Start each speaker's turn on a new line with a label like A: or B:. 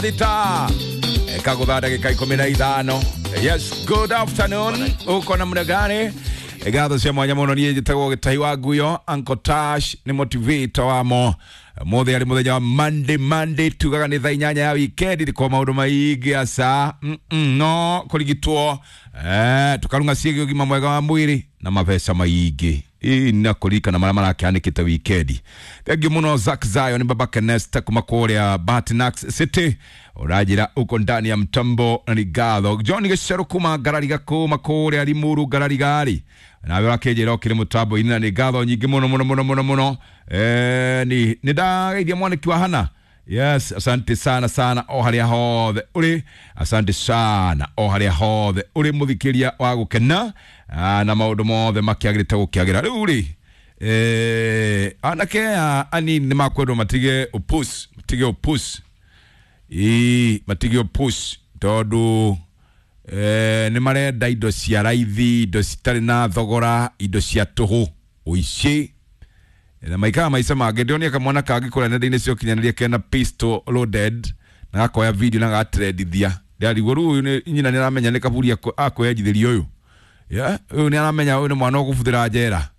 A: Thita kagutha ndagika 15. Yes, good afternoon, uko namna gani? Ngatho cia mwanya muno. Niĩ njĩtagwo Gĩtahi wa Nguyo. Uncle Tash nĩ motivator wamo mothe. Arĩ mũthenya wa Monday, Monday tugaga nĩ thaa 8 ya weekend ndiko maũndũ maingĩ aca no kũrigitwo tukarunga ciĩgiĩ ũgima mwega wa mwĩrĩ na mabeca maingĩ ĩ na kũririkana marĩa marakĩhanĩkĩte wikendi. Thengiũ mũno Zack Zion, Baba Kenesta kuma kũrĩa Batinax City, ũranjĩra uko ndani ya mtambo na nĩ ngatho. John Gĩcerũ kuma Ngarariga, kuma kũrĩa Limuru Ngararigari, nawe ũrakĩnjĩra ũkĩrĩ mũtambo-inĩ na nĩ ngatho nyingĩ mũno mũno mũno mũno mũno. Nĩ ndageithia mwanĩki wa Hana. Yes, asante sana sana o harĩa hothe ũrĩ, asante sana o harĩa hothe ũrĩ mũthikĩria wa gũkena. Na maũndũ mothe makĩagĩrĩte gũkĩagĩra rĩu rĩ, anake aya anini nĩ makwendwo matige upus, matige upus, ii matige upus tondũ nĩ marenda indo cia raithi, indo citarĩ na thogora, indo cia tũhũ, ũici na maikara maica mangĩ. Ndĩronia kamwana kangĩ kũrĩa nenda-inĩ cia ũkinyanĩria kena pistol loaded na gakoya video na gatrendithia. Ndĩrarigwo rĩu ũyũ nyina nĩ aramenya nĩ kaburi akwĩenjithĩria ũyũ. Yeah, ũyũ nĩ aramenya ũyũ nĩ mwana ũkũbuthĩra njera.